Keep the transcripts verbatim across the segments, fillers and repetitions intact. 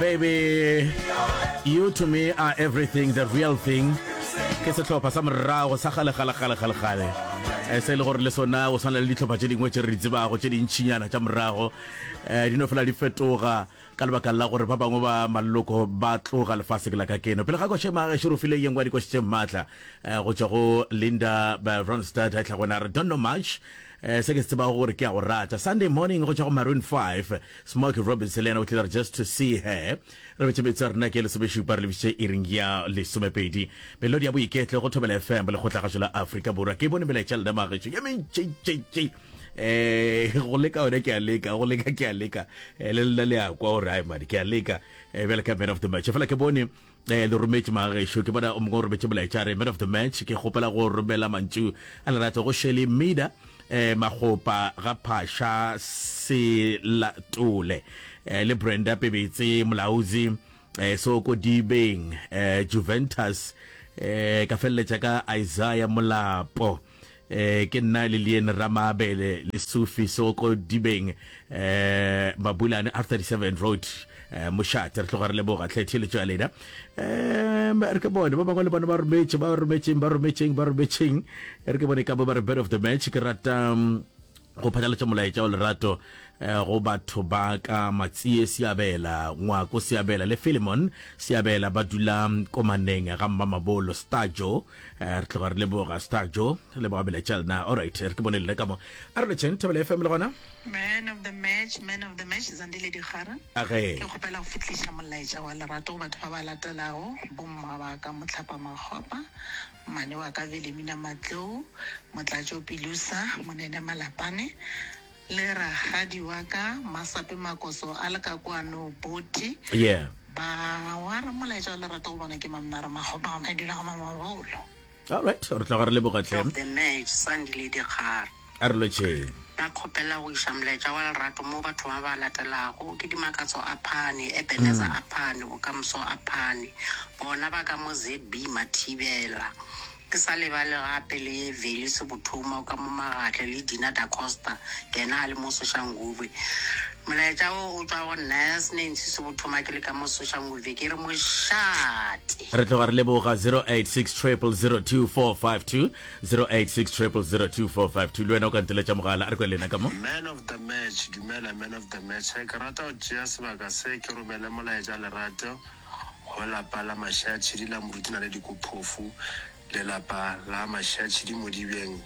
Baby, you to me are everything, the real thing. Ke sehlopha sa morago sa kgale kgale kgale kgale kgale. Eh, se e le gore le sona go swana le dihlopha tše dingwe tše re di tsebago tše dintšinyana tša morago eh, di no fela di fetoga ka lebaka la gore ba bangwe ba maloko ba tloga lefaseng la ka keno. Pele ga koše magešo re file ye nngwe ya dikoši tše maatla eh, go tšwa go Linda eh, Ronstadt a tla gona re don't know much eh, se ke se tsebago gore ke a go rata. Sunday morning go tšwa go Maroon five, Smokey Robinson le yena o tlile re just to see her. Re betše metso ya rena ke lesomešupa re lebišitše iring ya lesomepedi. Melodi ya boiketlo go Thobela F M lekgotlagašo la Afrika Borwa. Ke bone melaetša lena magešo ye mentšintšintši. Eh, go leka yone ke a leka, go leka ke a leka. Eh, le lena le a kwa gore ai mane ke a leka. Eh, bjale ka man of the match. Fela ke bone eh, le rometše magešo, ke bona o mongwe o rometše molaetša re man of the match. Ke kgopela go romela mantšu a lerato go Shirley Mida eh, Magopa ga Phasha Selatole eh, le Brenda Pebetse Molaozi eh, Soko Dibeng eh, Juventus eh, ka feleletša ka Isaiah Molapo eh, ke nna Lilian Ramabele le Sufi Soko Dibeng eh, Mabulane R thirty-seven Road eh, Mošate. Re tloga re leboga tlhe theeletšo ya lena. Um re ke bone ba bangwe le bona ba rometše ba rometšeng ba rometšeng ba rometšeng. Re ke bone ka bo ba re man of the match. Ke rata um, go phatlalatša molaetša wa lerato eh, go batho ba ka Matsie Seabela, Ngwako Seabela le Philemon Seabela ba dula Komaneng ga Mmamabolo Starjo. Eh, re tloga re leboga Starjo, re leboga melaetša lena. Alright, re ke bone lena ka mo. A re letšeng Thobela F M le gona. Man of the match, man of the match, Zandile Dikgara. Age. Ke kgopela go fihliša molaetša wa lerato go batho ba ba latelago, bomma ba ka Mohlapa Makgopa, mmane wa ka Velemina Matlou, Motlatšo Pilusa, Monene Malapane, le rakgadi wa ka Masape Makoso a le ka kwano Boti. Yeah. Ba wa re molaetša wa lerato go bona ke Mamnare Makgopa, a dula go Mamabolo. All right, re tloga re leboga tlhe. Of the match, Sandile Dikgara. A re lotšheng. Ba kgopela go iša molaetša wa lerato mo batho ba ba latelago ke Dimakatso a Phane, Ebenezer a Phane, Bokamoso a Phane. Bona ba ka mo Z B Mathibela. Ke sa lebale gape le Veli Sebothoma o ka mo Magatle le Dina Da Costa, yena a le mo Soshanguve. Molaetša wo o tšwa go nna Nancy Sebothoma ke le ka mo Soshanguve, ke re mošate. Re tloga re leboga zero eight six triple zero two four five two, zero eight six triple zero two four five two. Le wena o ka nteletša mogala, a re kwe lena ka mo. Man of the match, dumela man of the match. Ke rata go tšea sebaka se ke romele molaetša lerato go lapa la Mašatšhidi la Moruti Naledi Kophofu, le lapa la Mašatšhidi Modibeng,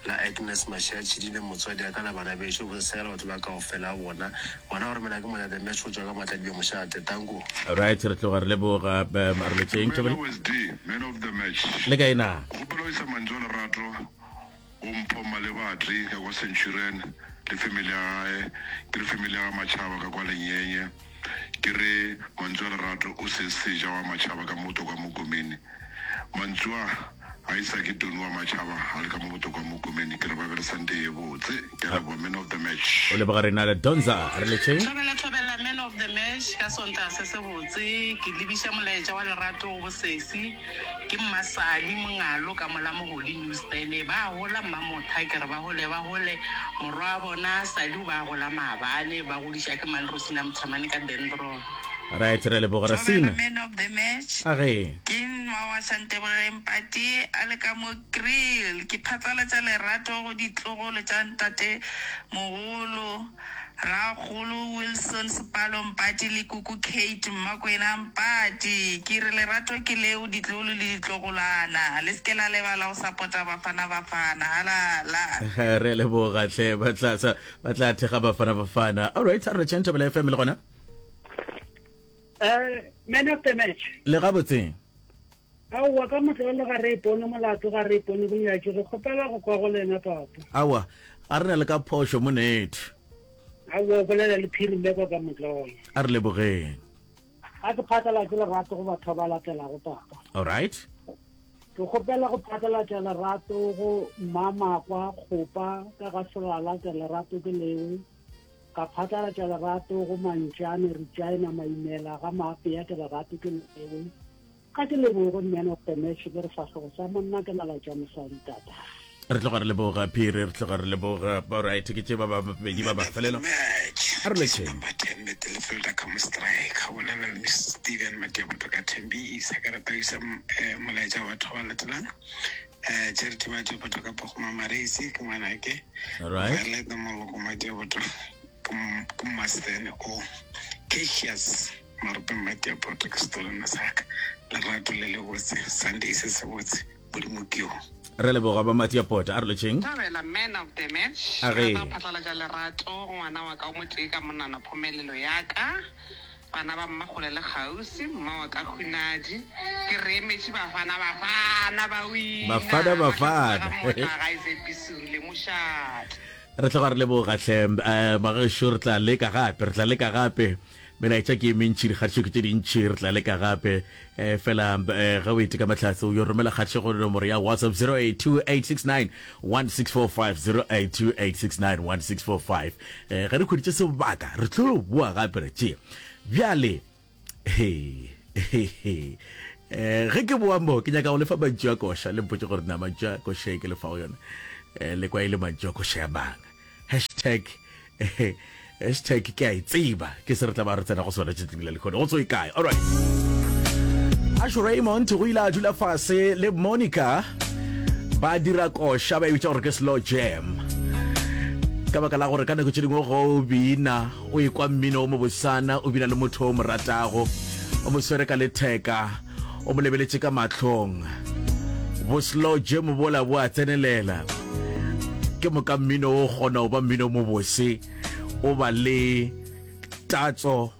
la Agnes Mašatšhidi le motswadi ya ka le bana bešo, bosesega le batho ba kaofela bona. Ngwana wa romela ke Mona the match go tšwa ka Matladibe Mošate. Tanko. Right, re tloga re leboga um, a re letšeng. Dumela West D, man of the match. Le kae na? Kgopela o isa mantšu a lerato go Mpho Malebatli ka kwa Centurion le family ya gae, ke re family ya ga Machaba ka kwa Lenyenye, ke re mantšu a lerato o se seja wa Machaba ka mo Botokwa Mokomene. Mantšu a a isa ke Tony wa Machaba a le ka mo Botokwa Mokomene, ke re ba be le Sunday ye botse. Ke a leboga man of the match. O leboga rena le Donza, re letšeng. Thobela thobela man of the match ka Sontaga se se botse, ke lebiša molaetša wa lerato go bosesi ke Mmasali Mongalo ka mola Mogodi New Stele, ba gola Mmamotha ke re ba gole ba gole, morwa wa bona Sali o ba gola maabane, ba godiša ke Malrosina Mothamane ka Dendron. Right, re leboga Thobela Rasina. man of the match. A ge. Ke nwa wa Shantebogeng Pati a le ka mo Kriel. Ke phatlalatša lerato go ditlogolo tša ntate mogolo, rakgolo Wilson Sepalo Mpati le kuku Kate Mmakwena Mpati. Ke re lerato ke leo ditlogolo le ditlogolwana. Le se ke la lebala go sapota Bafana Bafana. Halala. Re leboga hle, ba tla sa ba tla thekga Bafana Bafana. All right, a re letšeng Thobela F M le gona. Eh, man of the match. Le gabotse. Aowa, ka motlolo ga re ipone molato, ga re ipone bonyatši, re kgopela go kwa go lena papa. Aowa, ga re na le ka phošo monetho. Aowa, o bolela le Phiri Mbekwa ka motlolo. A re lebogeng. A ke phatlalatše lerato go batho ba ba latelago papa. All right. Ke kgopela go phatlalatša lerato go Mmamakwa Kgopa ka ga Selala, ke lerato ke leo. Ka phatlalatša lerato go Mantšane Regina Maimela ga Maapea, ke lerato ke leo. Ga ke leboge man of the match, ke re fahlogo sa monna ke nala tša mosadi tata. Re tloga re leboga Phiri, re tloga re leboga. All right, ke tše ba babedi ba ba felelo. Match. A re letšheng. Number ten Midfielder ka mo striker bolela le Steven Madiaboto ka Thembisa ke rata go isa eh, molaetša wa batho ba latelang eh Charity Madiaboto ka Pogoma Maresi ke ngwanake All right. Violet Moloko Madiaboto ke m- ke Mastene o Cassius Marope Madiaboto ke setolwana sa ka lerato le le botse Sunday se se botse Modimo ke yo Re leboga ba Matiapota. A re letšheng. Thabela man of the match. A Ke ge. rata go phatlalatša lerato go ngwana wa ka o motee ka monana phomelelo ya ka. Bana ba mmakgole le kgauswi, mma wa ka Hunadi. Ke re emetše Bafana Bafana ba wina. Bafana Mahlatse Bafana. ga mmotla ga e tshepisile mošate. Re tloga re leboga hle um magešo re tla leka gape re tla leka gape melaetša ke e mentši dikgatišo ke tše dintši re tla leka gape um fela um ge o ete ka mahlatse o yo romela kgatišo go nomoro ya whatsapp zero eight two eight six nine one six four five zero eight two eight six nine one six four five um ge re khweditše sebaka re tlo boa gape re tšee bjale he he he eh ge ke boa mo ke nyaka go lefa mantšu a koša le mpotše gore na mantšu a koša e ke lefago yona eh le kwa e le mantšu a koša ya mang hashtag eh, hashtag ke a e tseba ke se re tla ba re tsena go sona tšatšing la lehono go tso e kae all right Asho Raymond go ile a dula fase le Monica ba dira koša ba e bitša gore ke slow jam ka baka la gore ka nako tše dingwe go o bina o ekwa mmino o mobosana o bina le motho o mo ratago o mo swere ka letheka o mo lebeletše ka mahlong bo slow jam bola bo a tsenelela ke moka mmino o kgona go ba mmino o mobose o ba le tatso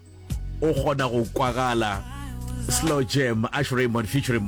o kgona go kwagala slow jam Ash Raymond featuring